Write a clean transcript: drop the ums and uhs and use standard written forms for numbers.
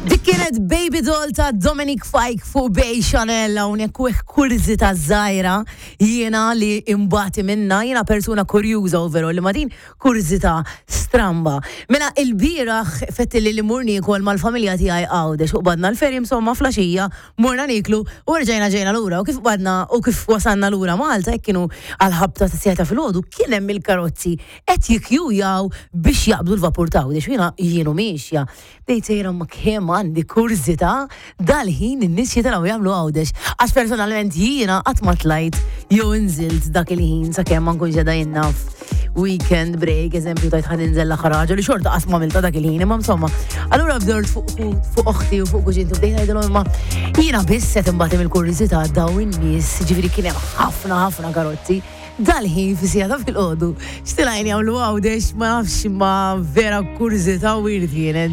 Dik kienet Baby Doll ta' Dominic Fike fuq Bay Chanel hawnhekk u kurżità żgħira jiena li imbati minna, jiena persuna kurjuża overall li ma din kurżità stramba. Mela il-bieraħ fetti li li mur niekol mal-familja tiegħi Għawdex u qbadna l-ferry insomma flaxija morna niklu u rġajna ġejna lura u kif qbadna u kif wasalna lura Malta hekk kienu għal-ħabta ta' siegħa ta' filgħodu kien hemm il-karozzi qed jikkjujaw biex jaqbdu l-vapur ta' Għawdex u jiena jienu miexja. Bdejt sejra ma kemm għandi kurżità dal-ħin in-nies jitilgħu jagħmlu Għawdex. Għax personalment jiena qatt ma tlajt jew inżilt dak il-ħin sakemm ma nkunx qiegħda jien naf weekend break, eżempju tajt ħa ninżel l-aħħar ħaġa li xorta qatt ma għamiltha dak il-ħin, imma insomma. Allura bdort fuq fuq oħti u fuq kuġinti bdejt ngħidilhom imma jiena biss qed imbagħad mill-kurżità dawn in-nies, ġifieri kien hemm ħafna ħafna karozzi. Dal-ħin fi siegħa ta' filgħodu, x'tilgħin jagħmlu Għawdex ma nafx imma vera kurżità weird kienet.